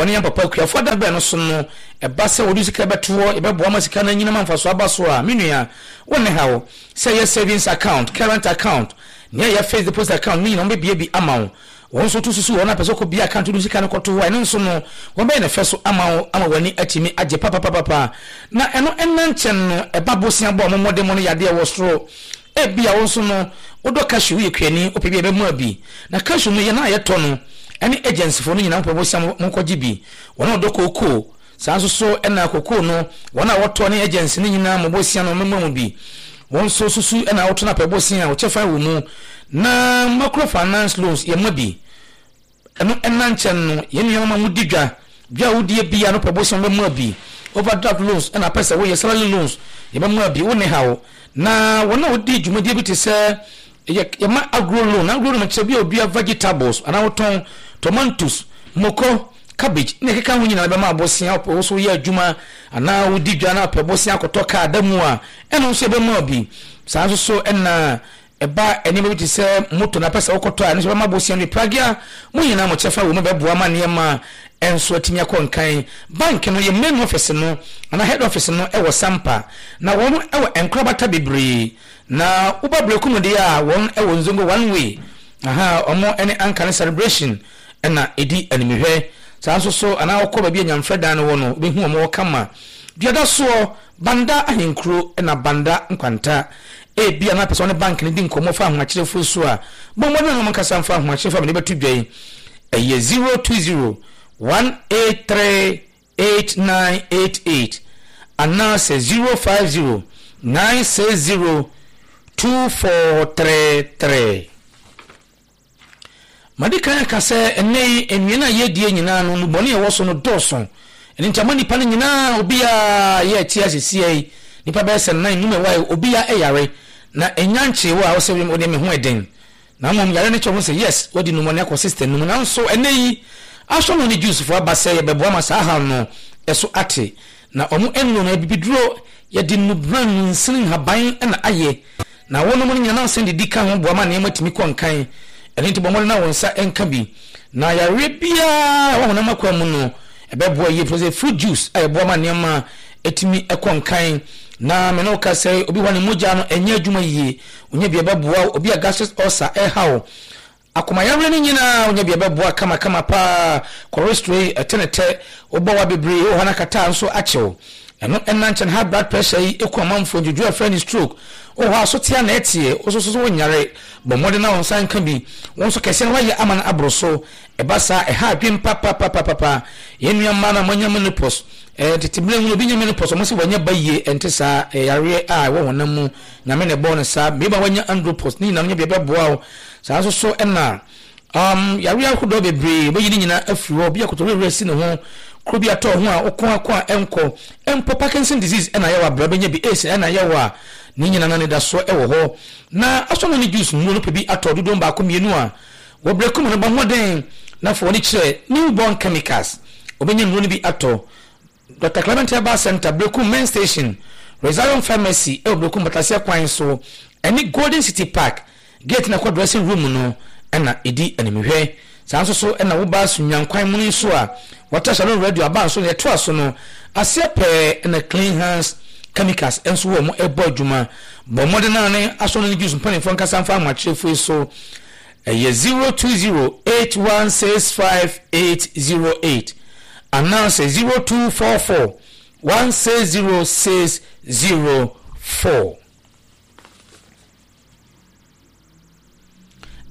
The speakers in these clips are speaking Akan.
wɔne yɛn papa akuafoɔ da bɛn no so no, ɛba sɛ wɔde sika bɛto hɔ, yɛbɛboa ma sika no anyini ma mfasoɔ aba so a, me nua, wo ne haw. Sɛ ɛyɛ savings account, current account, nea ɛyɛ fixed deposit account no nyinaa wɔbɛbue bi ama wo. Wɔn nso to susu wɔn a pɛ sɛ wɔkɔbue account wode sika no kɔto hɔ a, ɛno nso no, wɔbɛyɛ no fɛ so ama wo ama w'ani atumi agye papapapapa. Na ɛno nna nkyɛn no, ɛba bosea bɔ a wɔn mmɔdemmɔ no yɛ adeɛ wɔ soro. Ebia wo nso no, wodɔ cashew, woyɛ kuani, wopɛ bi a ɛbɛmoa bi. Na cashew no, yɛn a yɛtɔ no ne agencyfoɔ no nyinaa mopɛ bosea monkɔgye bi. Wɔn a wɔdɔ kookoo, Saa nso so na kokoo no, wɔn a wɔtɔ ne agency no nyinaa mo bosea no mɛma mo bi. Wɔn nso susu na wotɔ no apɛ bosea a wo kyɛfa wɔ mu. Na macro finance loans yɛma bi. Ɛno ɛna nkyɛn no, yɛn nuanom a modi dwa, dwa a wodie biara no pɛ bosea wɔbɛma bi. Overdraft loans ɛna apɛ sɛ woyɛ salary loans yɛbɛma bi, wo ne haw. Na wɔn a wodi dwumadie bi te sɛ yɛ yɛma agro loan, agro loan kyerɛ bi a odua vegetables anaa wotɔn tomatoes, moko, Cabbage ne ɛkeka ho nyinaa bɛma abosea wopɛ wo so yɛ adwuma anaa wodi dwa na wopɛ bosea akɔtɔ kaa da mu a ɛno nso ɛbɛma wo bi. Saa nso so na ɛba nneɛma bi te sɛ moto na pɛ sɛ wokɔtɔ a ɛno nso bɛma bosea no bi. Pragea mo nyinaa mo kyɛfa wɔ mu bɛboa ma nneɛma nso atumi akɔ nkan. Bank no yɛ main office no anaa head office no wɔ Sampa na wɔn wɔ nkorabata bebree na woba Berekum deɛ a wɔn wɔ Nzongo one way aha wɔn ne Anka ne Celebration na ɛdi animhwɛ. Saa nso so anaa wokɔ baabi a nyamfrɛ dan no wɔ no, wobɛhu wɔn wɔ kama. Duada soɔ, Banda ahenkuro na Banda nkwanta. Ebia na apɛ sɛ wɔne bank no di nkɔmmɔ fa ahomakyerɛfoɔ su a, bɔ mmɔden na wɔn ankasa mfa ahomakyerɛfoɔ a mede bɛto dwa yi. Ɛyɛ 020 183 8988 anaasɛ 050 960 2433. Madi kan aka sɛ ɛnnɛ yi nnuan a yɛredie nyinaa no, nnubɔne a ɛwɔ so no dɔɔso. Ɛno nti ama nnipa no nyinaa, obiara yɛ ɛte ase seɛ yi, nnipa bɛyɛ sɛ nnan, nnum ɛwɔ ha yi, obiara yare. Na ɛnya nkyee wo a wosɛ wo deɛ me ho ɛden. Na mmom yare no kyerɛ ho sɛ yes, wadi nnubɔne akɔ system no mu. Nanso ɛnnɛ yi, asɔre ne Jewsfoɔ aba sɛ yɛbɛboa ma saa haw no ɛso ate. Na wɔn nnuro no, abibiduro, yɛde nnubran, nnunsini, nhaban na ayɛ. Na wonom no nya nansa didi ka ho boa ma nneɛma tumi kɔ nkan. Ɛno nti bɔ mmɔden na wo nsa nka bi. Na yareɛ biara a ɛwɔ honam akwaa mu no, ɛbɛboa yie. Ɛfiri sɛ fruit juice a ɛboa ma nneɛma tumi kɔ nkan. Na me ne wo ka sɛ obi hɔ a ne mogya no ɛnyɛ adwuma yie, wonya bi a ɛbɛboa wo. Obi a gastric ulcer ɛreha wo, Akomayareɛ no nyinaa wonya bi a ɛbɛboa kamakama paa. Cholesterol yi ɛte ne tɛ, wobɔ wa bebree wɔ hɔ na kataa nso akye wo. Ɛno ɛnna nkyɛn high blood pressure yi ɛku amanfoɔ, ndwodwo a ɛfrɛ no stroke wɔ hɔ a so tea na ɛteɛ, wo nso so wonyare, bɔ mmɔden na wo nsa nka bi. Wo nso kɛseɛ no woayɛ ama no aboro so. Ɛba saa a ɛha adwene papapapapa. Yɛn nua mmaa no a moanya menopause, ɛɛ tete mmerɛ mu no obi nya menopause wɔn se wanya ba yie, ɛnte saa, ɛyɛ yareɛ a ɛwɔ honam mu, Nyame na ɛbɔɔ no saa. Mmarima a wanya andropause ne nyinaa no nya bi a ɛbɛboa wo. Saa nso so na um, yareɛ ahodoɔ bebree wɔbɛyi ne nyinaa afiri hɔ. Obi akoto werɛwerɛ si ne ho, kuro bi atɔ ho a woko ako a ɛnkɔ. Mpo Parkinson disease ɛna ayɛ wɔ abira bɛnya bi, AIDS ɛna ayɛ wɔ a ne nyinaa no anidasoɔ ɛwɔ hɔ. Na asɔre ne juice nnuro no pɛ bi atɔ dodoɔ baako mmienu a wɔ berɛ kum no bɔ mmɔden na fa w'ani kyerɛ Newborn Chemicals wɔbɛnya nnuro no bi atɔ. Dɔkta Clement Herbal Centre, Berekum Main Station, Rosario Pharmacy wɔ Berekum Bataseɛ kwan so ɛne Golden City Park gate no a ɛkɔ dressing room no na ɛdi animhwɛ. Saa nso so na woba Sunyani kwan mu no nso a, wɔatra Shalom Radio aba nso na ɛtoa so no aseɛ pɛɛ na Clean Hands Chemicals nso wɔ wɔn ɛbɔ adwuma. Bɔ mmɔden ara ne asɔre no ne Jews mpanimfoɔ nkasa mfa ahomakyerɛfoɔ yi so. Ɛyɛ 0208165808 anaasɛ 0244160604.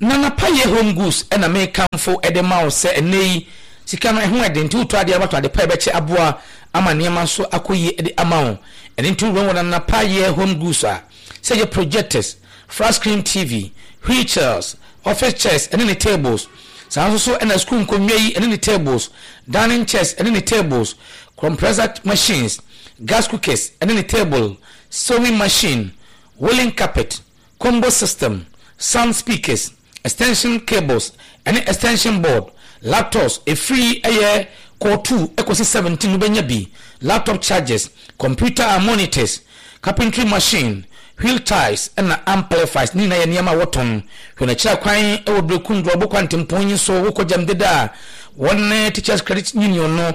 Nana Payɛ Home Goods na mekamfo de ma wo sɛ ɛnnɛ yi sika no ɛho ɛden nti wotɔ adeɛ a watɔ ade pa a ɛbɛkyɛ aboa ama nneɛma nso akɔ yie de ama wo. Ɛno nti wowura wɔ Nana Payɛ Home Goods a, sɛ ɛyɛ projectors, flat screen TV, wheelchairs, office chairs ne ne tables. Saa nso so na sukuu nkonnwa yi ne ne tables, dining chairs ne ne tables, compressor machines, gas cookers ne ne table, sewing machine, woolen carpet, combo system, sound speakers, extension cables ne extension board, laptops, ɛfiri ɛyɛ core 2 kɔsi 17 wobɛnya bi, laptop chargers, computer and monitors, carpentry machine, wheel ties na amplifiers ne nyinaa yɛ nneɛma a wɔtɔn. Hwɛ n'akyira kwan wɔ Berekum Drɔbo kwantempɔn yi so wokɔ Gyamdeda a. Wɔn ne Teachers Credit Union no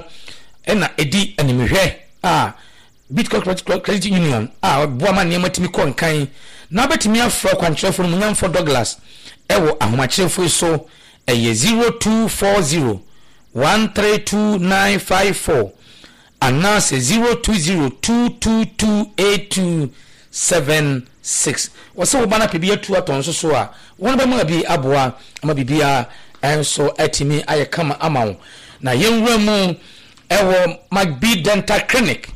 na ɛdi animhwɛ a Bitcoin Credit Union a ɔboa ma nneɛma tumi kɔ nkan na wobɛtumi afrɛ ɔkwankyerɛfo no Munyamfo Douglas wɔ ahomakyerɛfo yi so ɛyɛ 0240 132954 anaasɛ 0202228276. Wɔsɛ wo ba no apɛ bi atu atɔ nso so a, wɔn bɛma bi aboa ama biribiara nso atumi ayɛ kama ama wo. Na yɛnwura mu Ɛwɔ McBee Dental Clinic.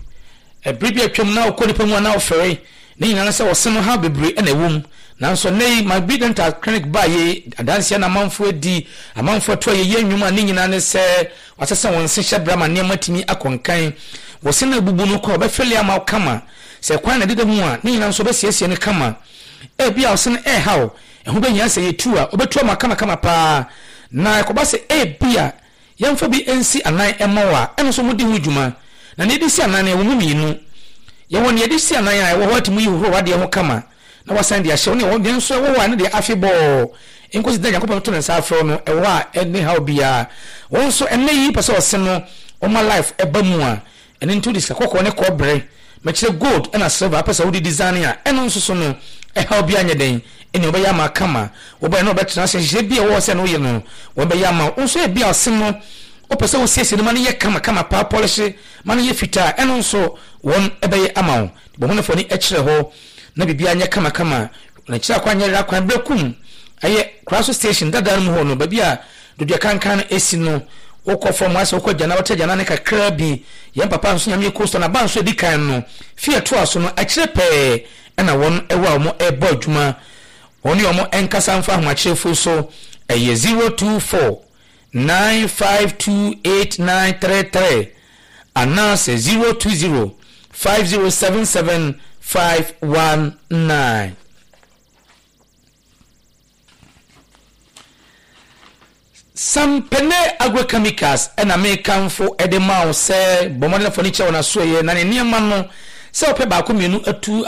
Bere bi a atwam na wokɔ nnipa mu a na wofɛre. Ne nyinaa ne sɛ ɔse no haw bebree na ɛwɔ mu. Nanso nnɛ yi McBee Dental Clinic baa yei adanse na amanfoɔ adi, amanfoɔ atu ayɛyie nnwom a ne nyinaa ne sɛ wɔasesa wɔn se hyɛbrɛ ama nneɛma atumi akɔ nkan. Wo se no abubu no kɔ a wɔbɛfele ama wo kama. Sɛ kwan na ɛdeda mu a, ne nyinaa nso wɔbɛsiesie no kama. Ebia wo se no ɛreha wo, ɛho bɛhia sɛ yɛtu a, wɔbɛtu ama wo kamakama paa. Na ɛkɔba sɛ ebia Yɛmfa bi nsi anan mma wo a, ɛno nso modi ho dwuma. Na nea yɛde si anan no, ɛwɔ mu mmienu. Yɛwɔ nea yɛde si anan a ɛwɔ hɔ a tumi yi hohoro w'adeɛ ho kama na wasan de ahyɛ wo, ne nea nso ɛwɔ hɔ a ɛno deɛ afebɔɔ nkosi da Nyankopɔn bɛto ne nsa afrɛ wo no, ɛwɔ hɔ a ɛnni haw biara. Wo nso ɛnnɛ yi wopɛ sɛ ɔse no ɔma life ba mu a, Ɛno nti wode sika kɔkɔɔ ne kɔbere, mekyerɛ gold ɛna silver apɛ sɛ wode design a, ɛno nso so no, ɛhaw biara nyɛ dɛn, ɛnea wɔbɛyɛ ama kama. Wobɛyɛ na wɔbɛtena ase, nhyehyɛe bi a ɛwɔ hɔ sɛ ɛno woyɛ no, wɔbɛyɛ ama wo. Wo nso ebia ɔse no, wopɛ sɛ wosiesie no ma no yɛ kama kama paa, pɔlehye ma no yɛ fitaa, ɛno nso wɔn bɛyɛ ama wo. Bɔ ho na fa w'ani kyerɛ hɔ na biribiara nyɛ kama kama. Na kyerɛ akwan nyɛ yera kwan berɛ kum ɛyɛ Koraso station dada no mu hɔ no, baabi a Dodua kankan no si no, wokɔ fam ayɛ sɛ wokɔ agyanan, wote agyanan no kakraa bi. Yɛn papa nso Nyame Coastal n'aba nso edi kan no, fie a ɛtoa so no, akyire pɛɛ na wɔn wɔ a wɔn rebɔ adwuma. Wɔn ne wɔn nkasa mfa ahomakyerɛfo so, ɛyɛ 024 952 8933 anaasɛ 020 5077 519. Sampene Agrochemicals na mekamfo de ma wo sɛ bɔ mmɔden fa ani kyerɛ wɔn asoɛeɛ na ne nneɛma no sɛ wopɛ baako mmienu atu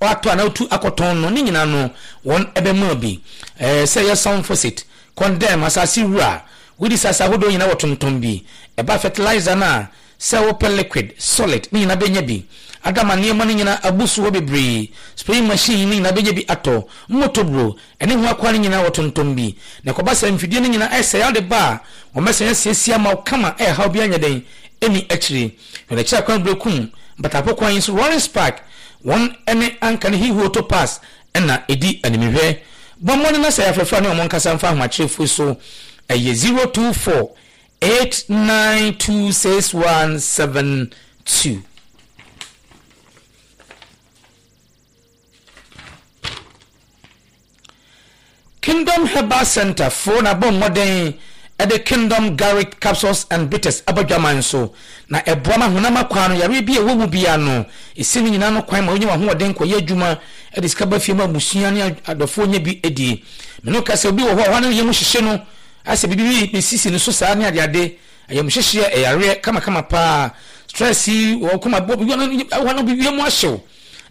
atɔ anaa wotu akɔtɔn no ne nyinaa no wɔn bɛma bi. Ɛɛ sɛ ɛyɛ Sunfosit, Condemn, asase wura, wodi sase ahodoɔ nyinaa wɔtontɔn bi. Ɛba fertilizer no a Sɛ wopɛ liquid, solid ne nyinaa bɛnya bi. Adama nneɛma no nyinaa abu so hɔ bebree. Spraying machine no nyinaa bɛnya bi atɔ. Mmotoburo, ɛne ho akwaa no nyinaa wɔtontɔn bi. Na ɛkɔba sɛ mfidie no nyinaa ɛsɛe a wode ba a, wɔbɛsan asiesie ama wo kama a ɛhaw biara nyɛ dɛn ɛnni akyire. Hwɛ n'akyiri akwan Berekum, Mpatapo kwan yi so, Lawrence Park, wɔn ne Anka ne Hihuoto Pass na ɛdi animhwɛ. Bɔ mmɔden na sɛ ɛyɛ afrɛfrɛ a ne wɔn nkasa mfa ahomakyerɛfoɔ so. Ɛyɛ 024 8926172. Kingdom Herbal Center foɔ na bɔ mmɔden de Kingdom Garlic Capsules and Bitters aba dwaman so, na ɛboa ma honam akwaa no yareɛ bi a ɛwɔ mu biara no, ɛsi ne nyinaa no kwan ma wonya w'ahoɔden kɔyɛ adwuma de sika ba fie ma abusua ne adɔfoɔ nya bi die. Me ne wo ka sɛ obi wɔ hɔ a ɔhɔ a na ne yam hyehye no Ayɛ sɛ biribi bi sisi ne so saa ne adeade, ayamhyehyeɛ, ɛyareɛ kamakama paa, stress yi wɔ koma bɔ hɔ no bi mu ahyew,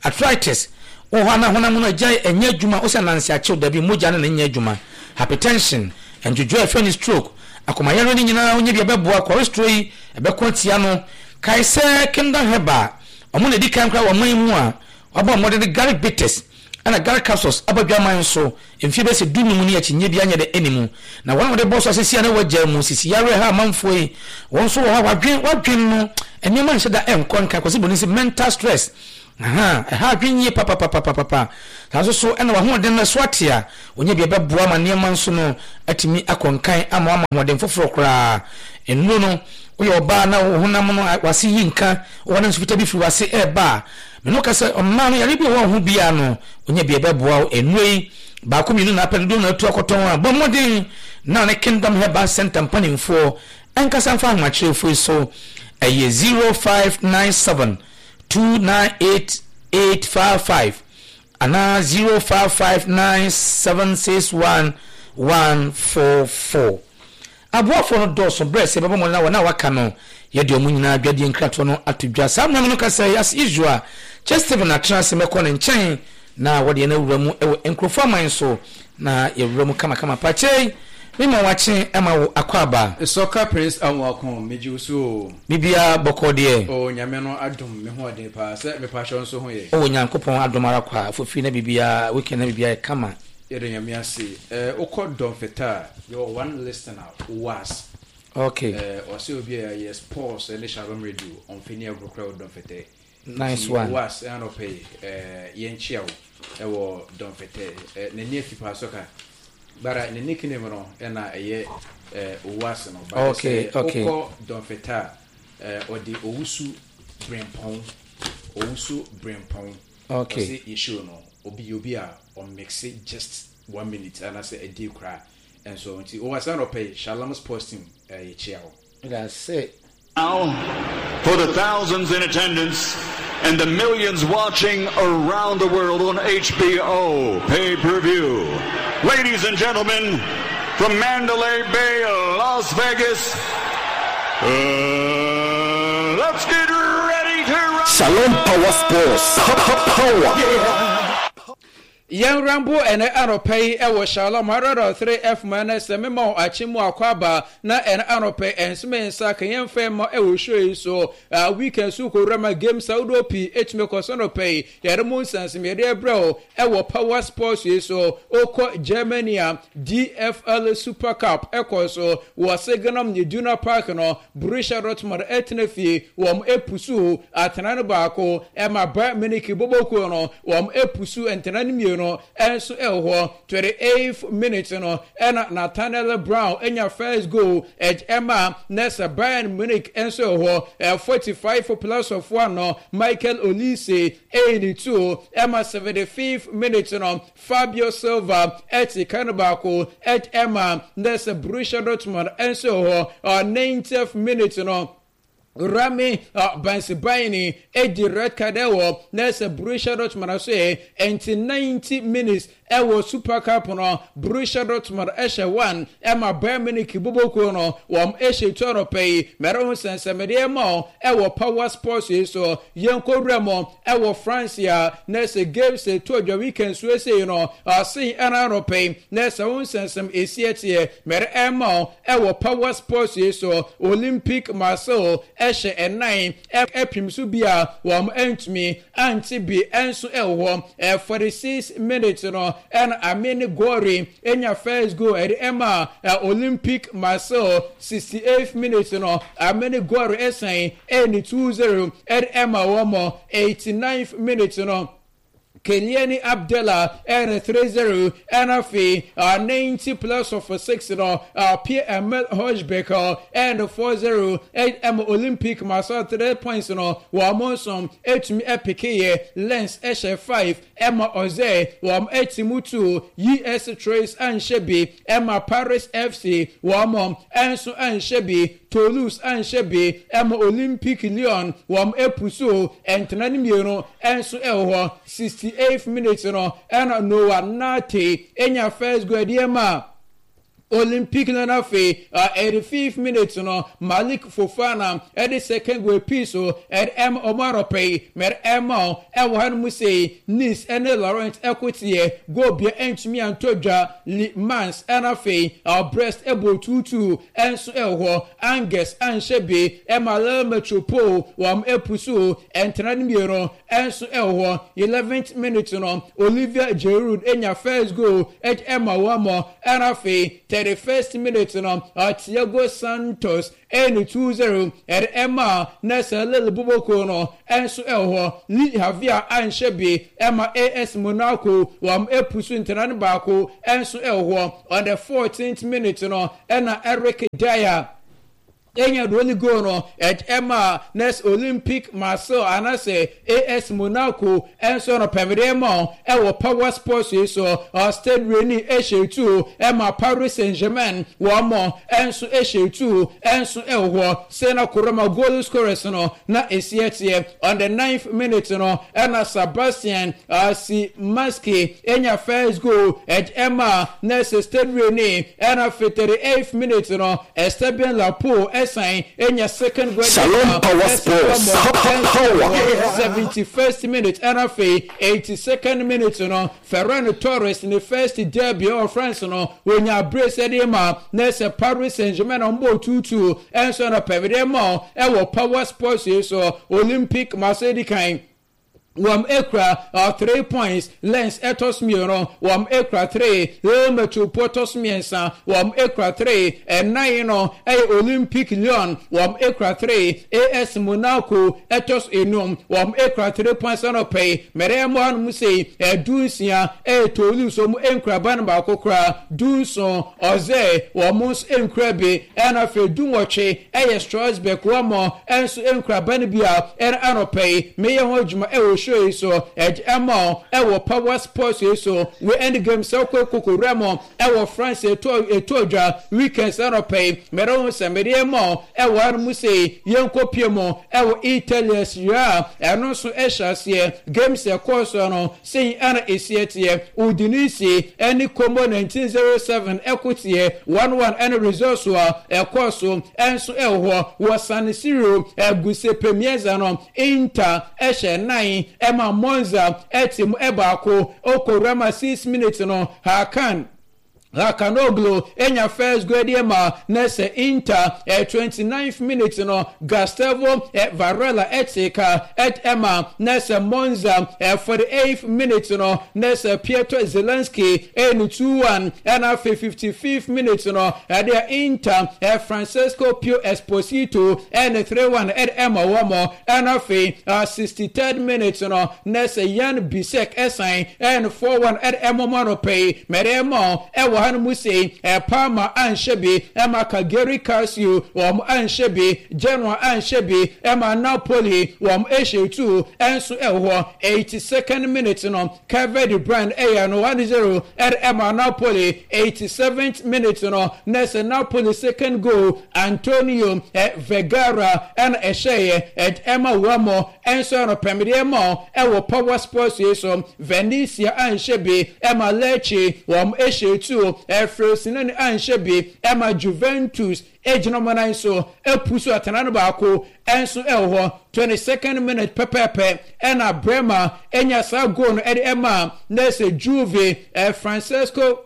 arthritis wɔ hɔ a na honam no agyae ɛnyɛ adwuma, wosɛ ananse akyew dabi mogya no na ɛnyɛ adwuma, hypertension, ndwodwoa ɛfrɛ no stroke, akomayareɛ no nyinaa wonya bi ɛbɛboa, cholesterol yi ɛbɛko atia no. Kae sɛ Kingdom Herbal wɔn na ɛdi kan koraa wɔ ɔman mu a wɔabɔ mmɔden de garlic bitters Ɛna Gary Capsos aba dwaman so mfeɛ bɛyɛ sɛ dunum ni akyinnyeɛ biara nyɛ dɛ ɛnni mu. Na wɔn a wɔde bɔ so asisi a na wɔagyaa mu sisi yareɛ ha amanfoɔ yi, wɔn nso wɔ hɔ a wadwen wadwen no nneɛma nhyɛ da ɛnkɔ nka Kwasi Broni se mental stress ahaa ɛha adwen yie papapapapapa. Saa nso so ɛna wahoɔden no ɛso ate a wɔnya bi ɛbɛboa ma nneɛma nso no atumi akɔ nkan ama wama ahoɔden foforɔ koraa. Nnuro no woyɛ ɔbaa na wo honam no wase yi nka wɔ ne nso fitaa bi firi wase ɛreba a Me ne wo ka sɛ, ɔmmaa no yare bi a ɛwɔ wo ho biara no, wonya bi a ɛbɛboa wo. Nnuro yi, baako mmienu na apɛ dodoɔ na atu akɔtɔn a, bɔ mmɔden na ne Kingdom Herbal Center mpanimfoɔ nkasa mfa ahomakyerɛfoɔ yi so. Ɛyɛ 0597 298 855 anaa 0559 761 144. Aboafoɔ no dɔɔso berɛ sɛ yɛbɛbɔ mmɔden na wɔn a wɔaka no yɛde wɔn nyinaa adwadie nkratoɔ no ato dwa. Saa mmerɛ no ka sɛ, As usual, Kyɛ Stephen atena ase mɛkɔ ne nkyɛn na wɔde yɛn awura mu wɔ nkurɔfoɔ aman so na yɛwura mu kamakama pa. Kyei, Me ma wakye ma wo akwaaba. Soccer Prince Amoako, megye wo so oo. Biribiara bɔkɔɔ deɛ. Oh Nyame no adom me ho ɔden paa sɛ mepakyɛw nso ho yɛ. Oh Nyankopɔn adom ara kwa fofiri na biribiara weekend na biribiara yɛ kama. Yɛda Nyame ase. Eh wokɔ Dɔnfɛtɛ a yɛwɔ one listener was. Okay. Eh ɔsɛ obi a yɛ sports ɛne Shalom radio ɔnfɛ ni agorɔ koraa wɔ Dɔnfɛtɛ. Nice one. Nti was anɔpɛ yi eh yɛnkyia wo ɛwɔ Dɔnfɛtɛ. Eh n'ani afi paa soccer. Bara ne nickname no na ɛyɛ eh, Owuase no. But okay, sɛ okay. wokɔ Dɔnfɛtɛ a, eh, ɔde Owusu Brempɔn. Owusu Brempɔn. Okay. Ɔse yɛ show no, obi yɛ obi a ɔmixe just one minute anaasɛ a day koraa. Ɛnso nti Owuase anɔpɛ yi, Shalom Sports Team eh, yɛkyia wo. That's it. Now, for the thousands in attendance and the millions watching around the world on HBO pay per view. Ladies and gentlemen, from Mandalay Bay, Las Vegas, uh, let's get ready to rock. Shalom Power Sports. Power. Yɛn rambo ɛnɛ anɔpa yi ɛwɔ Shalom 103 FM ɛnɛ sɛ mema wo akye mu akɔ aba na ɛnɛ anɔpa yi ɛnsome nsa ka yɛn fɛ ma ɛwɔ show yi so uh, weekend so kɔwura ma games ahodoɔ pii ɛtumi kɔ so anɔpa yi yɛde mu nsansem yɛde ɛbrɛ wo ɛwɔ Power Sports yi so okɔ Germany a DFL Super Cup ɛkɔ so wɔ Signal Iduna Park no Borussia Dortmund ɛtena fie wɔn ɛpusu atena no baako ɛma Bayern Munich bɔbɔkuo no Wɔn pusu ntena no mmienu nso wɔ hɔ. 28th minute no ɛna Nathaniel Brown nya first goal ɛma na sɛ Bayern Munich nso wɔ hɔ. 45 plus of one no Michael Olise ɛyi ne two ɛma 75th minute no Fabio Silva ɛte ka no baako ɛma na sɛ Borussia Dortmund nso wɔ hɔ. 90th minute no Rami Bensebaini edi red card ɛwɔ na ɛsɛ Borussia Dortmund so yɛ nti 90 minutes ɛwɔ Super Cup no Borussia Dortmund ɛhyɛ 1 ɛma Bayern Munich bobokuo no wɔn ɛhyɛ tu anɔpɛ yi mɛrɛ ho sɛnsɛmɛdeɛ ɛma o ɛwɔ Power Sports yi so yɛn kɔ wura mu ɛwɔ France a na ɛsɛ games ɛtu adwa weekend so ɛsɛ yi no ɔsen ɛna anɔpɛ yi na ɛsɛ ho nsɛnsɛm ɛsi ɛteɛ mɛrɛ ɛma o ɛwɔ Power Sports yi so Olympique Marseille ɛhyɛ ɛnan ɛpem so bi a wɔn ɛntumi ante bi ɛnso ɛwɔ hɔ 46 minutes no ɛna Amine Gori enya first goal ɛde ɛma Olympique Marseille 68 minutes no Amine Gori ɛsan ɛne 2-0 ɛde ɛma wɔn 89th minute no Keliani Abdallah ɛne 3-0 ɛna afei 90 plus of 6 no Pierre Emil Hojbjerg ɛne 4-0 ɛma Olympic Marseille 3 points no wɔn nso ɛtumi ɛpekeyɛ Lens ɛhyɛ 5 ɛma Ɔzɛ wɔn ɛti mu 2 US Troyes anhyɛ bi ɛma Paris FC wɔn ɛnso anhyɛ bi Toulouse anhyɛ bi ɛma Olympique Lyon wɔn ɛpusu ɛntena ne mmienu ɛnso ɛwɔ hɔ 68th minute no ɛna Noah Nate enya first goal ɛde ɛma Olympique no na afei 85th minute no Malik Fofana ɛde second goal pii so ɛde ɛma ɔmo anɔpɛ yi mɛde ɛma ɛwɔ ha no mu sei Nice ɛne Laurent ɛkoteɛ goal bia ɛntumi antɔ dwa Le Mans ɛna afei Brest ɛbɔ 2-2 ɛnso ɛwɔ hɔ Angers anhyɛ bi ɛma Lille Metropole wɔn ɛpusu ɛntena no mmienu ɛnso ɛwɔ hɔ 11th minute no Olivier Giroud enya first goal ɛde ɛma wɔn ɛna afei 31st minute no Thiago Santos ɛne 2-0 ɛde ɛma Nessa Lille Boboko no ɛnso ɛwɔ hɔ Le Havre anhyɛ bi ɛma AS Monaco wɔn ɛpusu ntena no baako ɛnso ɛwɔ hɔ on the 14th minute no ɛna Eric Dier enya the only goal no ɛma nes Olympic Marseille anaasɛ AS Monaco ɛnso no pɛmɛdeɛ ma ɛwɔ Power Sports yi so Stade Rennes ɛhyɛ tu ɛma Paris Saint-Germain wɔn mo ɛnso ɛhyɛ tu ɛnso ɛwɔ hɔ sena koroma goal scorers no na esi ɛteɛ on the ninth minute no ɛna Sebastian Szymanski enya first goal ɛma nes Stade Rennes ɛna 38th minute no Esteban Lapo ɛsɛ. ɛsan enya second goal Shalom Power Sports Power. 71st minute ɛna afei 82nd minute no Ferran Torres ne first derby ɛwɔ France no wonya brace ɛde ma na ɛsɛ Paris Saint-Germain na ɔmbɔ 2-2 ɛnso na pɛmede ma ɛwɔ Power Sports yi so. Olympic Marseille di kan, wɔn ekura 3 points. Lens ɛtɔ so mmienu, wɔn ekura 3. Real Metropole ɛtɔ so mmiɛnsa, wɔn ekura 3. Ɛnan no ɛyɛ Olympic Lyon, wɔn ekura 3. AS Monaco ɛtɔ so enum, wɔn ekura 3 points. Ɛna ɔpɛ mɛrɛ ɛmo hanom sei 16 ɛyɛ Toulouse, wɔn nkura ban baako koraa. 17 ɔzɛ, wɔn nso nkura bi. Ɛna afei 18 ɛyɛ Strasbourg, wɔn nso nkura ban bi a ɛna anɔpɛ yi meyɛ ho adwuma ɛwɔ show yi so ɛde ɛma ɛwɔ Power Sports yi so. We end game sɛ ɔkɔ kokowura mu ɛwɔ France ɛtɔ dwa weekend sɛ anɔpɛ yi mɛrɛ ho sɛ mɛde ɛma ɛwɔ ano mu sɛ yɛnkɔ pie mu ɛwɔ Italy Serie A. Ɛno nso ɛhyɛ aseɛ, games ɛkɔɔ so no sɛyi ɛna esi ɛteɛ: Udinese ɛne Como 1907 ɛko teɛ 1-1 ɛne results a ɛkɔɔ so ɛnso ɛwɔ hɔ. Wɔ San Siro, Giuseppe Meazza no, Inter ɛhyɛ 4 ɛma Monza ɛte mu ɛbaako. Okowurama 6 minutes no, Hakan Hakanoglu enya first goal deɛ ma na sɛ Inter. 29th minute no, Gustavo Varela ɛte ka ɛt ɛma na sɛ Monza. 48th minute no, na sɛ Pietro Zelenski ɛne 2-1. Ɛna afei 55th minute no, ɛdeɛ Inter Francesco Pio Esposito ɛne 3-1 ɛde ɛma wɔn. Ɛna afei 63rd minute no, na sɛ Yan Bisek ɛsan ɛne 4-1 ɛde ɛma wɔn. Anɔpɛ yi mɛde ɛma ɛwɔ ha no mu sei: Parma anhyɛ bi ɛma Cagliari Calcio, wɔn anhyɛ bi. Genoa anhyɛ bi ɛma Napoli, wɔn ɛhyɛ 2 ɛnso ɛwɔ hɔ. 82nd minute no, Kevin De Bruyne ɛyɛ no 1-0 ɛde ɛma Napoli. 87th minute no, na sɛ Napoli second goal, Antonio Vergara ɛna ɛhyɛeɛ ɛde ɛma wɔn. Ɛnso ɛno pɛmdeɛ ma ɛwɔ Power Sports yi so. Venezia anhyɛ bi ɛma Lecce, wɔn ɛhyɛ 2. Frosinone anhyɛ bi ɛma Juventus, egyina wɔn nan so epu so atena no baako ɛnso ɛwɔ hɔ. 22nd minute pɛpɛɛpɛ ɛna Bremer enya saa goal no ɛde ɛma na ɛsɛ Juve. Francesco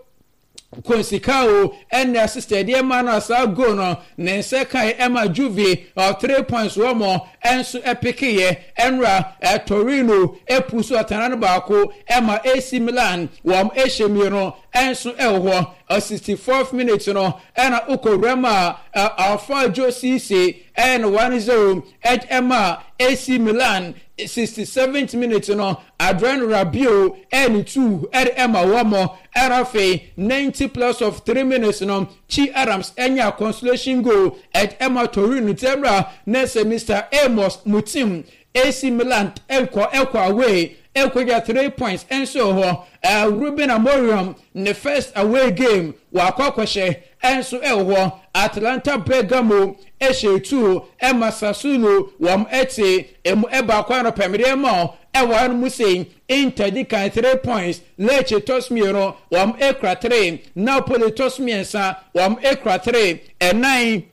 Conceicao ɛne assist ɛde ɛma no a saa goal no ne nsa kae ɛma Juve 3 points wɔ mo ɛnso ɛpekeyɛ. Ɛnra Torino epu so atena no baako ɛma AC Milan, wɔn ɛhyɛ mmienu ɛnso ɛwɔ hɔ. 64th minute no ɛna okowura mu a Alpha Cisse ɛyɛ no 1-0 ɛma AC Milan. 67th minute no, Adrien Rabiot ɛne 2 ɛde ɛma wɔn. Ɛna afei 90 plus of 3 minutes no, Che Adams ɛnya consolation goal ɛde ɛma Torino. Tɛmra na sɛ Mr Amos Mutim, AC Milan ɛkɔ away ɛkɔgya 3 points ɛnso hɔ. Ruben Amorim ne first away game wakɔ akɔhyɛ ɛnso ɛwɔ hɔ. Atalanta Bergamo ɛhyɛ 2 ɛma Sassuolo, wɔn ɛte emu ɛbaako. Ano pɛmdeɛ ma ɛwɔ ha no mu sei: Inter di kan, 3 points. Lecce tɔ so mmienu, wɔn ekura 3. Napoli tɔ so mmiɛnsa, wɔn ekura 3. Ɛnan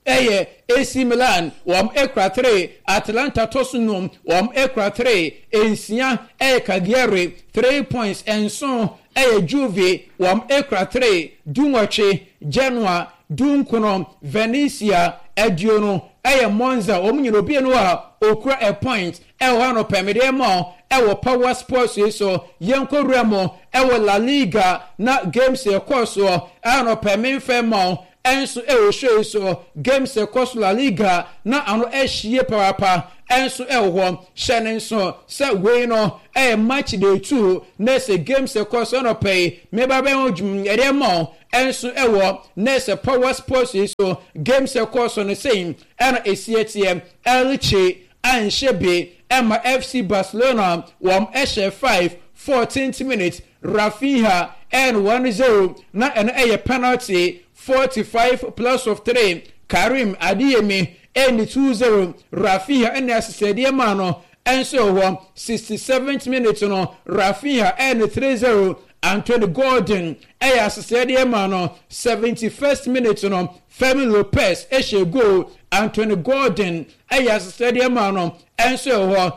ɛyɛ AC Milan, wɔn ekura 3. Atalanta tɔ so num, wɔn ekura 3. Nsia ɛyɛ Cagliari, 3 points. 7 ɛyɛ Juve, wɔn ekura 3. 18 Genoa, 19 Venezia, 20 ɛyɛ Monza. Wɔn nyina obi no a okura a point ɛwɔ hɔ no pɛmɛdeɛ ma ɛwɔ Power Sports yi so. Yɛnkɔ wura mu ɛwɔ La Liga na games ɛkɔɔ soɔ ɛwɔ pɛmɛnfɛ ma ɛnso ɛwɔ show yi so. Games ɛkɔ so La Liga na ano ɛhyie papaapa ɛnso ɛwɔ hɔ. Hyɛ ne nso sɛ wei no ɛyɛ match day 2 na ɛsɛ games ɛkɔ so ɛnɔ pɛ yi meba bɛn ho dwum ɛdeɛ ma ɛnso ɛwɔ na ɛsɛ Power Sports yi so. Games ɛkɔ so no sɛn ɛna esi ɛteɛ: Elche anhyɛ bi ɛma FC Barcelona, wɔn ɛhyɛ 5. 14th minute, Raphinha ɛn 1-0 na ɛno ɛyɛ penalty. 45 plus of 3, Karim Adeyemi ɛne 2-0. Raphinha ɛne asesɛdeɛ maa no ɛnso wɔ hɔ. 67th minute no, Raphinha ɛne 3-0. Anthony Gordon ɛyɛ asesɛdeɛ ma no 71st minute no Fermin Lopez ɛhyɛ goal Anthony Gordon ɛyɛ asesɛdeɛ ma no ɛnso ɛwɔ hɔ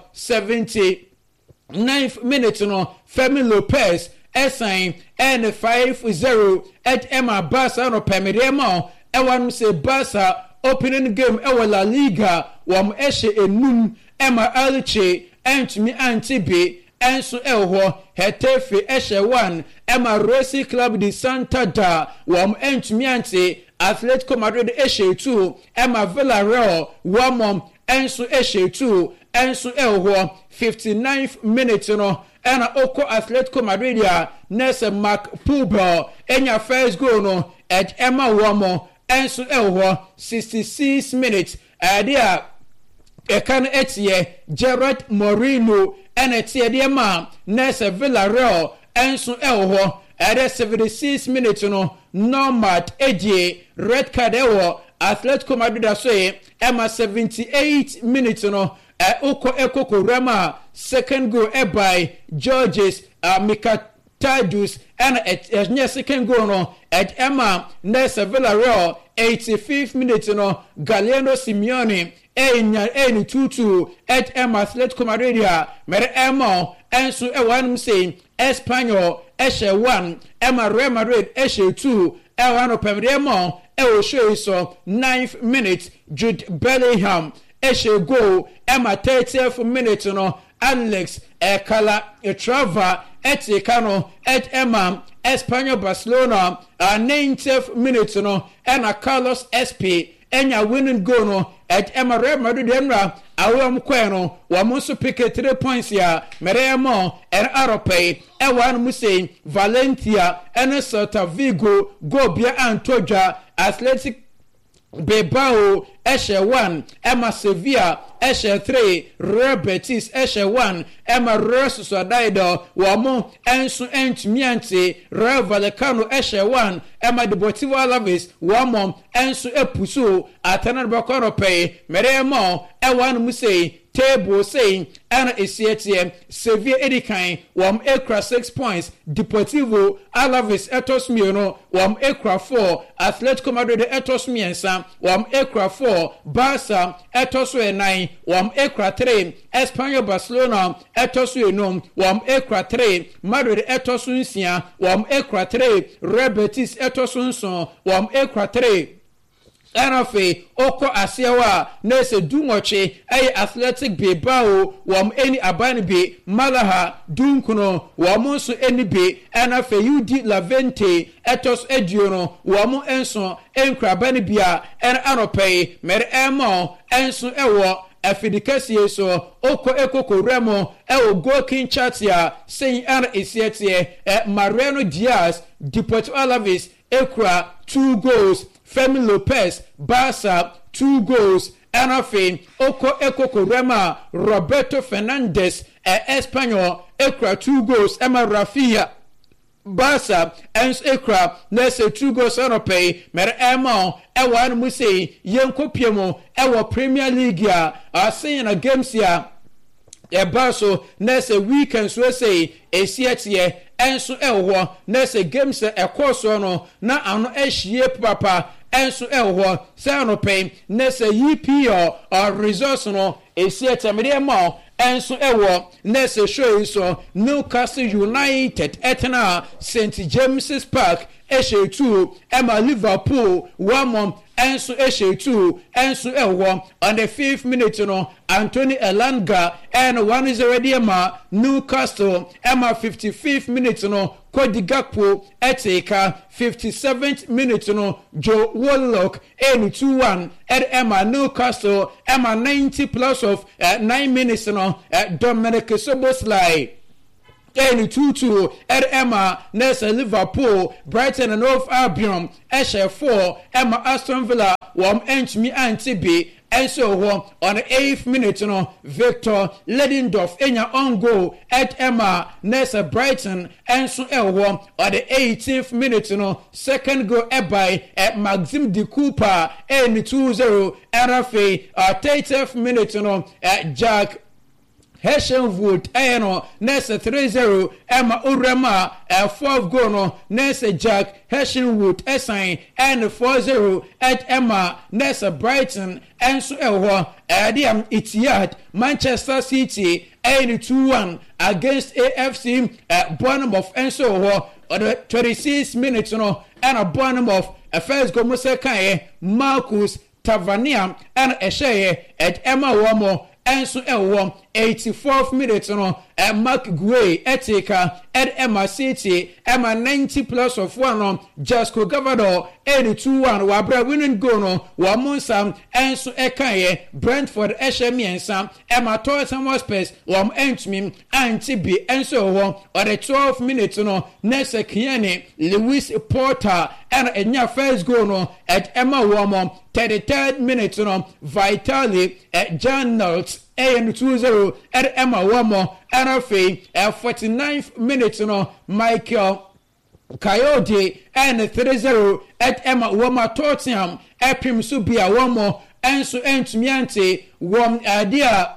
79th minute no Fermin Lopez ɛsan ɛne 5-0 ɛde ɛma Barca no pɛmɛdeɛ ma ɛwɔ anom sɛ Barca opening game ɛwɔ La Liga wɔn ɛhyɛ enum ɛma Elche ɛntumi ante bi ɛnso ɛwɔ hɔ Getafe ɛhyɛ 1 ɛma Racing Club de Santander wɔn ɛntumi ante Atletico Madrid ɛhyɛ 2 ɛma Villarreal wɔn ɛnso ɛhyɛ 2 ɛnso ɛwɔ hɔ 59th minute no ɛna okɔ Atletico Madrid a nɛsɛ Marc Pubill ɛnya first goal no ɛd ɛma wɔn ɛnso ɛwɔ hɔ 66 minutes ɛde a ɛka no ɛteɛ Gerard Moreno ɛna ɛteɛ deɛ ma nɛsɛ Villarreal ɛnso ɛwɔ hɔ ɛde 76 minutes no Nomad ɛgye red card ɛwɔ Atletico Madrid aso yi ɛma 78 minutes no ɛwokɔ ɛkɔ kowura a second goal ɛbae Georges Mikautadze ɛna ɛnyɛ second goal no ɛd ɛma nɛsɛ Villarreal 85th minute no Giuliano Simeone ɛnya ɛni 2-2 ɛd ɛma Atletico Madrid a mɛrɛ ɛma ɛnso ɛwɔ anum sɛ Espanyol ɛhyɛ 1 ɛma Real Madrid ɛhyɛ 2 ɛwɔ ano pɛmdeɛ ma ɛwɔ show yi so 9th minute Jude Bellingham ɛhyɛ goal ɛma 30th minute no Alex Calatrava ɛte ka no ɛd ɛma Espanyol Barcelona 90th minute no ɛna Carlos Espi ɛnya winning goal no ɛd ɛma Real Madrid ɛnura awɔ wɔn kɔɛ no wɔn nso pick 3 points a mɛrɛ ɛmɔ ɛn arɔpɛ yi ɛwɔ anum sɛ Valencia ɛne Celta Vigo goal bia anto dwa Athletic Bilbao ɛhyɛ 1 ɛma Sevilla ɛhyɛ 3 Real Betis ɛhyɛ 1 ɛma Real Sociedad wɔn ɛnso ɛntumi ante Rayo Vallecano ɛhyɛ 1 ɛma Deportivo Alaves wɔn ɛnso ɛpusu atana no bɛkɔ anɔpɛ yi mɛrɛ ɛmɔ ɛwɔ anum sɛ table sei ɛna esi ɛteɛ Sevilla edi kan wɔn ekura 6 points Deportivo Alaves ɛtɔ so mmienu wɔn ekura 4 Atletico Madrid ɛtɔ so mmiɛnsa wɔn ekura 4 Barca ɛtɔ so ɛnan wɔn ekura 3 Espanyol Barcelona ɛtɔ so enum wɔn ekura 3 Madrid ɛtɔ so nsia wɔn ekura 3 Real Betis ɛtɔ so nson wɔn ekura 3 ɛna afei ɔkɔ aseɛ hɔ a na ɛsɛ 18 ɛyɛ Athletic Bilbao wɔn ani aban bi Malaga 19 wɔn nso ani bi ɛna afei UD Levante ɛtɔ so 20 wɔn nso nkura aban bi a ɛna anɔpɛ yi mɛrɛ ɛmɔ ɛnso ɛwɔ afidi kɛseɛ so okɔ ekoko wura mu ɛwɔ goal king chart a sɛn ɛna esi ɛteɛ ɛ Mariano Diaz Deportivo Alaves ekura 2 goals Fermin Lopez Barca 2 goals ɛna afei okɔ ekoko rema Roberto Fernandez ɛ Espanyol ekura 2 goals ɛma Rafinha Barca ɛnso ekura na ɛsɛ 2 goals ɛnɔpɛ yi mɛrɛ ɛma ɛwɔ anum sɛ yɛn pie mu ɛwɔ Premier League a asen na games a ɛba so na ɛsɛ weekend so ɛsɛ esi ɛteɛ ɛnso ɛwɔ hɔ na ɛsɛ games ɛkɔɔ soɔ no na ano ɛhyie papa ɛnso ɛwɔ hɔ sɛ anɔpɛ na ɛsɛ EPL results no esi ɛteɛ mɛde ɛma ɛnso ɛwɔ na ɛsɛ show yi so Newcastle United ɛtena St James's Park ɛhyɛ 2 ɛma Liverpool wɔn ɛnso ɛhyɛ 2 ɛnso ɛwɔ on the 5th minute no Anthony Elanga ɛna 1-0 deɛ ma Newcastle ɛma 55th minute no Cody Gakpo ɛte ka 57th minute no Joe Willock ɛne 2-1 ɛde ɛma Newcastle ɛma 90 plus of 9 minutes no Dominic Szoboszlai ɛne 2-2 ɛde ɛma nɛsɛ Liverpool. Brighton and Hove Albion ɛhyɛ 4 ɛma Aston Villa wɔn ɛntumi ante bi ɛnso hɔ on the 8th minute no Victor Lindelof enya on goal ɛde ɛma nɛsɛ Brighton ɛnso ɛwɔ hɔ on the 18th minute no second goal ɛbae ɛ Maxim de Cuyper ɛne 2-0 ɛna afei 30th minute no ɛ Jack. Heshenwood ɛyɛ no na ɛsɛ 3-0 ɛma owura mu a ɛ fourth goal no na ɛsɛ Jack Heshenwood ɛsan ɛne 4-0 ɛd ɛma na ɛsɛ Brighton ɛnso ɛwɔ hɔ ɛde am Etihad Manchester City ɛyɛ no 2-1 against AFC Bournemouth ɛnso wɔ hɔ ɔde 26 minutes no ɛna Bournemouth first goal mo sɛ kaeɛ Marcus Tavernier na ɛhyɛeɛ ɛde ɛma wɔn nso wɔ 84th minute no Marc Guehi tee ka ɛde ɛma City ɛma 90 plus of one no Josko Gvardiol ɛne 2-1 wɔ abere a winning goal no wɔn nsa nso ɛkaeɛ Brentford ɛhyɛ mmiɛnsa ɛma Tottenham Hotspurs wɔn antumi ante bi nso wɔ hɔ ɔde 12 minutes no na sɛ Kiani Lewis Porter ɛna ɛnya first goal no ɛde ɛma wɔn 33rd minute no Vitali Janelt ɛyɛ no 2-0 ɛde ɛma wɔn ɛna afei 49th minute no Michael Kayode ɛne 3-0 ɛde ɛma wɔn a Tottenham ɛpem so bi a wɔn nso ntumi ante wɔn ade a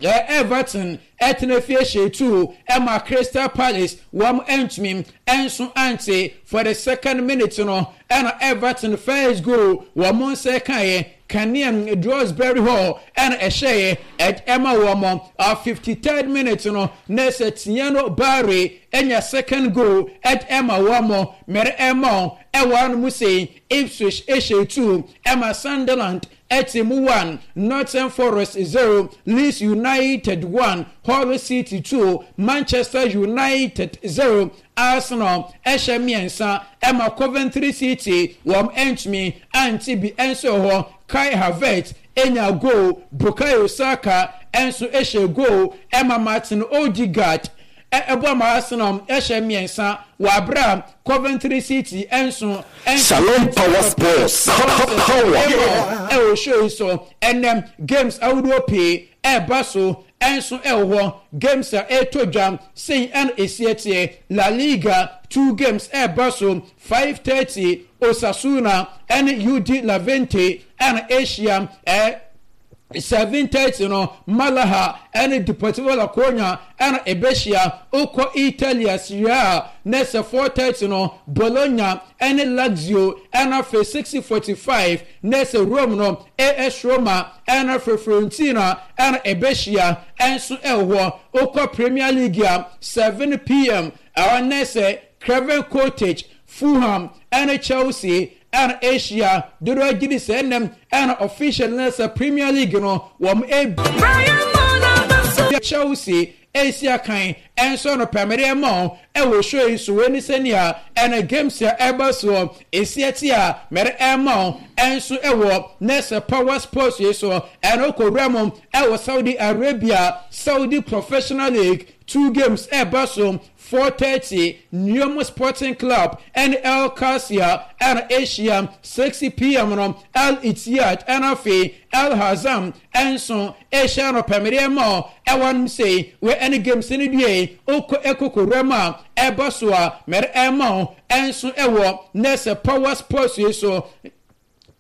Everton ɛtena fie hyɛ tu ɛma Crystal Palace wɔn ntumi nso ante for the second minute no ɛna Everton first goal wɔn nsa kaeɛ Kanea Dewsbury Hall ɛna ɛhyɛeɛ ɛde ɛma wɔn 53rd minute no na ɛsɛ Tiano Barry anya second goal ɛde ɛma wɔn mɛrɛ ɛma ɛwɔ ano mu sei Ipswich ɛhyɛ 2 ɛma Sunderland ɛte mu 1 Nottingham Forest 0 Leeds United 1 Hull City 2 Manchester United 0 Arsenal ɛhyɛ mmiɛnsa ɛma Coventry City wɔn ɛntumi ante bi ɛnso hɔ Kai Havertz enya goal Bukayo Saka ɛnso ɛhyɛ goal ɛma Martin Odegaard ɛbɔ ma Arsenal ɛhyɛ mmiɛnsa wɔ abere a Coventry City ɛnso Shalom Power Sports. Power. Ɛwɔ show yi so ɛnɛ games ahodoɔ pii ɛɛba so ɛnso ɛwɔ hɔ games a ɛretɔ dwa sei ɛna esi ɛteɛ La Liga two games ɛɛba so 5:30 Osasuna ɛne UD Levante ɛna ahyia ɛ 7:30 no Malaga ɛne Deportivo La Coruña ɛna ɛbɛhyia okɔ Italia Serie A na sɛ 4:30 no Bologna ɛne Lazio ɛna afei 6:45 na sɛ Rome no AS Roma ɛna afei Fiorentina ɛna ɛbɛhyia ɛnso ɛwɔ hɔ okɔ Premier League a 7 p.m. ɛwɔ na sɛ Craven Cottage Fulham ɛne Chelsea ɛna ahyia dodoɔ agye di sɛ ɛnɛm ɛna official na sɛ Premier League no wɔn ebi Chelsea esi akan ɛnso no pɛmɛrɛ ɛma ɛwɔ show yi so wei ne sɛnea ɛna games a ɛba soɔ esi ɛte a mɛrɛ ɛma ɛnso ɛwɔ nɛsɛ Power Sports yi so ɛna okɔwura mu ɛwɔ Saudi Arabia Saudi Professional League two games ɛba so 4:30 Neom Sporting Club ɛne El Qadsiah ɛna ahyia 6 p.m. no Al Ittihad ɛna afei Al Hazam ɛnso ahyia no pɛmɛdeɛ ma ɛwɔ nom sei wei ɛne games no due okɔ ɛkɔkɔwura mu a ɛba so a mɛrɛ ɛma ɛnso ɛwɔ nɛsɛ Power Sports yi so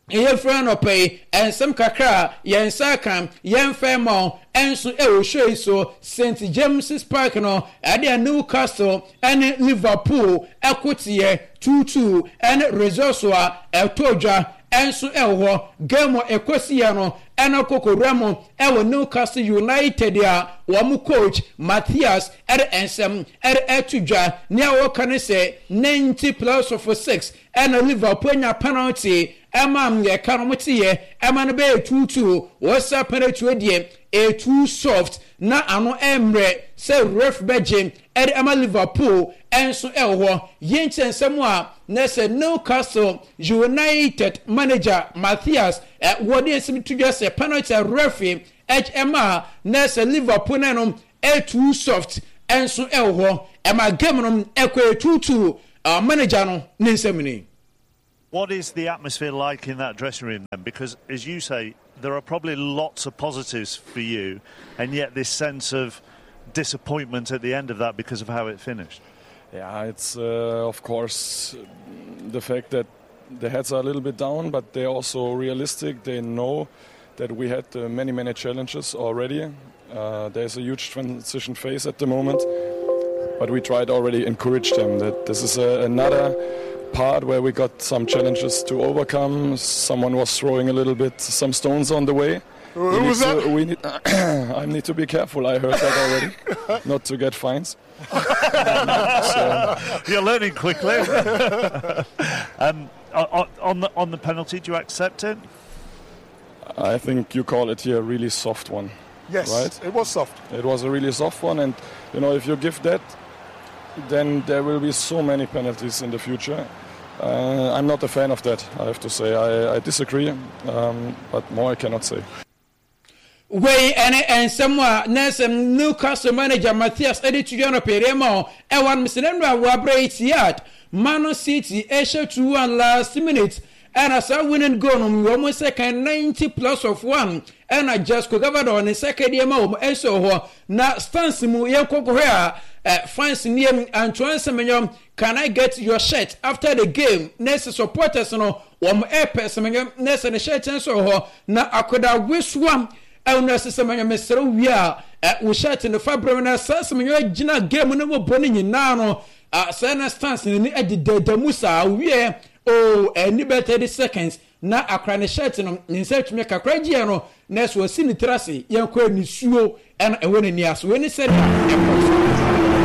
ɛyɛ fira nɔpɛ yi nsɛm kakra a yɛn nsa ka yɛn fɛ ma ɛnso ɛwɔ show yi so St James's Park no ɛde Newcastle ɛne Liverpool ɛko teɛ 2-2 ɛne results a ɛtɔ dwa ɛnso ɛwɔ hɔ game a ɛkɔsiiɛ no ɛna kɔkɔwura mu ɛwɔ Newcastle United a wɔn coach Matthias ɛde nsɛm ɛde ɛto dwa nea wɔka ne sɛ 90 plus of 6 ɛna Liverpool anya penalty ɛma yɛka no mo teɛ ɛma no bɛyɛ 2-2 wɔsa penalty deɛ ɛtoo soft na ano ɛmmerɛ sɛ ref bɛgye ɛde ama Liverpool ɛnso ɛwɔ hɔ yɛnkyɛ nsɛm a na sɛ Newcastle United manager Matthias ɛ wɔde nsɛm to dwa sɛ penalty a referee ɛma na sɛ Liverpool na no ɛtoo soft ɛnso ɛwɔ hɔ ɛma game no ɛkɔ 2-2 manager no ne nsɛm ni. What is the atmosphere like in that dressing room then? Because, as you say, there are probably lots of positives for you, and yet this sense of disappointment at the end of that because of how it finished. Yeah, it's of course the fact that the heads are a little bit down, but they're also realistic. They know that we had uh, many, many challenges already. Uh, there's a huge transition phase at the moment, but we tried already encourage them that this is a, another part where we got some challenges to overcome. Someone was throwing a little bit some stones on the way. Who was to, that? We need, I need to be careful. I heard that already, not to get fines. um, so. You're learning quickly. um, on the on the penalty, do you accept it? I think you call it here a really soft one. Yes, right? it was soft. It was a really soft one, and you know if you give that, then there will be so many penalties in the future. Uh, I'm not a fan of that, I have to say. I, I disagree, um, but more I cannot say. Wei ne nsɛm a na Newcastle manager Matthias de to dwa no pɛɛ ma ɛwɔ anom sɛ n'anu a wɔabrɛ Etihad Man City ɛhyɛ 2-1 last minute ɛna saa winning goal no wɔn nsa kan 90 plus of 1 ɛna Josko Gvardiol ne nsa ka deɛ ma wɔn nso hɔ na stands mu yɛn kɔkɔhwɛ a fans nie Antoine Semenyo can I get your shirt after the game na ɛsɛ supporters no wɔn ɛpɛ Semenyo na ɛsɛ ne shirt nso hɔ na akoda wesoa ɛno ɛsɛ Semenyo mesrɛ wie a wo shirt no fa brɛ na saa Semenyo gyina game no mu bɔ no nyinaa no sɛ na stands no ni ɛdedada mu saa wie oh ɛni bɛ 30 seconds na akora ne shirt no ne nsa atumi kakra gyeɛ no na ɛso asi ne tiri ase yɛnkɔ nisuo ɛna ɛwɔ n'ani ase wei ne sɛdeɛ ɛkɔ so.